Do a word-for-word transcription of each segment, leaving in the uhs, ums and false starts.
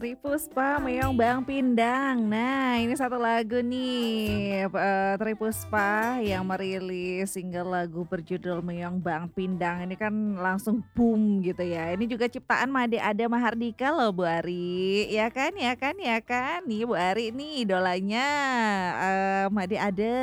Tri Puspa, Meong Bang Pindang. Nah, ini satu lagu nih, eh, Tri Puspa yang merilis single lagu berjudul Meong Bang Pindang. Ini kan langsung boom gitu ya. Ini juga ciptaan Made Ada Mahardika loh, Bu Ari. Ya kan, ya kan, ya kan. Nih, Bu Ari nih idolanya, eh, Made Ada.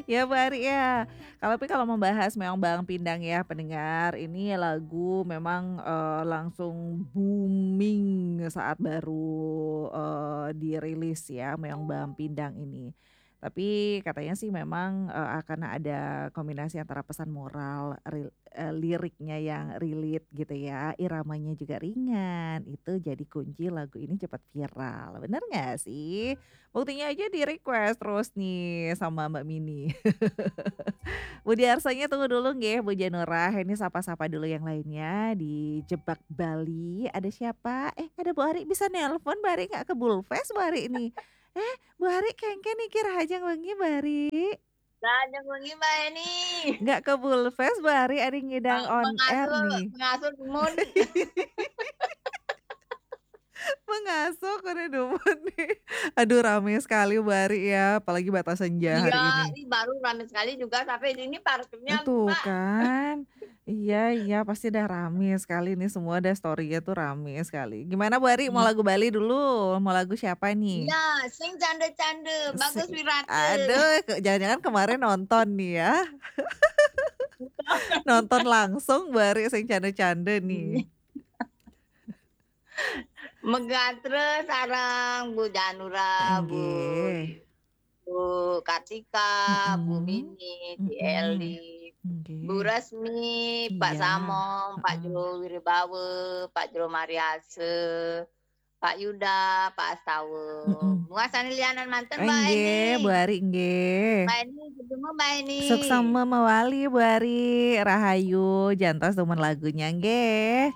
Ya, Bu Ari ya. Kalau, tapi kalau membahas Meong Bang Pindang ya, pendengar, ini lagu memang, eh, langsung booming saat baru, eh, dirilis ya, Meong Bang Pindang ini. Tapi katanya sih memang, eh, karena ada kombinasi antara pesan moral, ril-, eh, liriknya yang relate gitu ya, iramanya juga ringan, itu jadi kunci lagu ini cepat viral. Bener nggak sih? Buktinya aja di-request terus nih sama Mbak Mini. Budi Arsanya tunggu dulu nggih, Bu Janurah. Ini sapa-sapa dulu yang lainnya di Jebak Bali. Ada siapa? Eh, ada Bu Ari, bisa nelpon, Bu Ari nggak ke Bulfest, Bu Ari ini. Eh, Bu Ari kengken niki, rahajeng wengi, Bu Ari. Rahajeng wengi, Mbak Eni. Nggak ke Bulfest, Bu Ari, ada ngidang Ah, on air mengasuh, nih. Mengasuh dumun. Mengasuh, kode dumun nih. Aduh, rame sekali, Bu Ari ya, apalagi Bata Senja hari Iya, ini. Ini baru rame sekali juga, sampai ini parkirnya lupa. Tuh kan. Iya, iya, pasti dah rame sekali nih, semua dah story-nya tuh rame sekali. Gimana, Bu Ari, mau Hmm. lagu Bali dulu? Mau lagu siapa nih? Iya, sing canda-canda, Bagus Sing, Wirata. Aduh, ke-, jangan-jangan kemarin nonton nih ya. Nonton langsung, Bu Ari, sing canda-canda nih. Iya. Megatra sareng Bu Janura, Bu Nggih. Bu Kartika, Bu Mm-mm. Mini, Bu Mm-mm. Eli, Bu Nggih. Rasmi, Pak Iya. Samong, Pak Heeh. Jero Wiribawa, Pak Jero Mariasa, Pak Yuda, Pak Astawa. Mm-mm. Muasani lianan manten, Mbak Nggih, Eni. Bu Ari, nggih. Mbak Eni, ketemu Mbak Eni. Suksma mawali, Bu Ari. Rahayu, jantos dumun lagunya, nggih.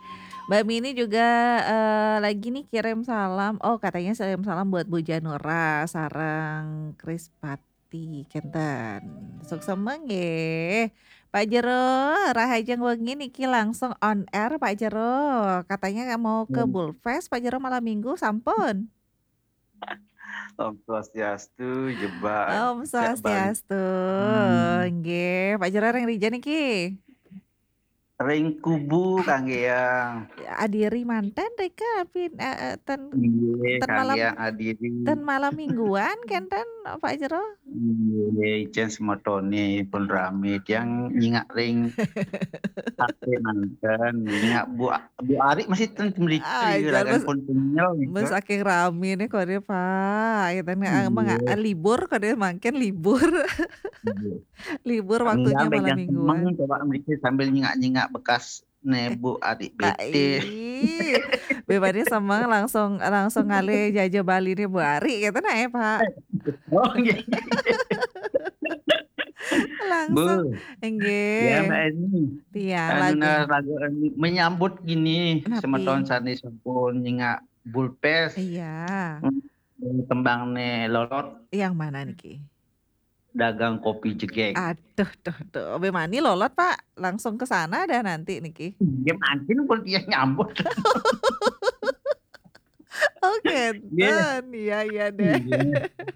Mbak Mini juga, eh, lagi nih kirim salam. Oh, katanya kirim salam buat Bu Janura sareng Krispati, kenten. Suksma nggih. Pak Jero, rahajeng wengi niki langsung on air, Pak Jero. Katanya mau ke Hmm. Bulfest, Pak Jero, malam minggu, sampun. Om Swastiastu, Jebak, Om Jebak Bali. Swastiastu. Hmm. Nggih, Pak Jero ring rija niki? Ring Kubu, kangge yang. Adiri manten rika, pin-, eh, eh, ten, Nggih, ten malam, kangge yang adiri. Ten malam mingguan kenten, Pak Jero? Nggih, icen semetone pun rame, tiang nyingak ring H P manten, nyingak Bu, Bu Ari masih ten mriki, ah, jan ragan mes-, pun kenyel, mes gitu. Saking rame nih kode, Pak. Ya, ten, ah, emang, nggih, ah, libur kode, mangkin libur. Nggih. Libur waktunya. Enggak, malam mingguan. Semeng, coba mriki sambil nyingak-nyingak bekas ne, eh, Bu Ari, ah, bete. Ih. Bebane semeng langsung, langsung ngalih jaja Bali nih, Bu Ari, gitu nah, ya, Pak. Oh, nggih. Langsung. Bu. Nggih. Ya, Mbak Eni. Iya, anu, lagu. Nah, lagu anu, menyambut gini, napi? Semeton sane sampun nyingak Bulfest. Iya. Hmm, tembang ne Lolot. Yang mana niki? Dagang kopi jegeg. Aduh, duh, duh. Bemani Lolot, Pak? Langsung ke sana dah nanti niki. Nggih, mangkin pun dia nyambut. Oke, nggih. Ten. Iya, iya deh. Nggih.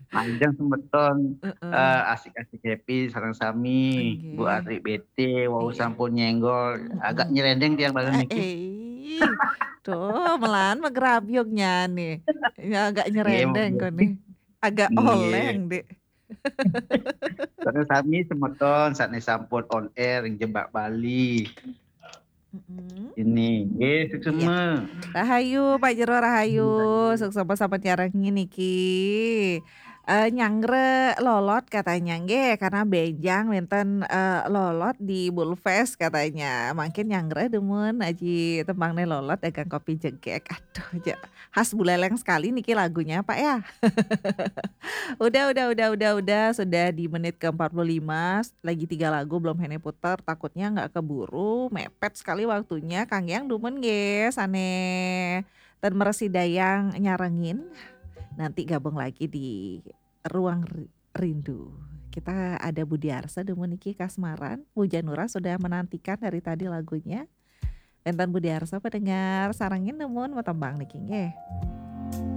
Panjang semeton, heeh, eh, asik-asik happy sareng sami. Nggih. Bu Ari bete, wau, iya, sampun nyenggol. Mm-mm. Agak nyerendeng tiang bareng niki. Eh, eh. Tuh, melan megrabyuk nyane. Ya, agak, nggih, nyerendeng monggo. Kok nih. Agak, nggih, oleng, Dek. Terus sami semeton, saat ini sampun on air, yang Jebak Bali. Mm-mm. Ini, nggih, iya. Suksma. Rahayu, Pak Jero, rahayu. Iya. Suksma sampun nyarengin niki. Eh, nyangre Lolot katanya, nggih, karena benjang wenten, eh, Lolot di Bulfest katanya. Mangkin nyangre dumun aji tembang ne Lolot, dagang kopi jegeg. Aduh, ja-, khas Buleleng sekali niki lagunya, Pak, ya. Udah, udah, udah, udah, udah. Sudah di menit ke empat puluh lima, lagi tiga lagu belum hene putar. Takutnya nggak keburu, mepet sekali waktunya. Kang Yang dumun nggih, sane ten meresi dayang nyarengin. Nanti gabung lagi di Ruang Ri-, Rindu. Kita ada Budi Arsa dumun niki kasmaran. Bu Janura sudah menantikan dari tadi lagunya. Wénten Budi Arsa pendengar, sarengin nemo'en matembang niki nggih.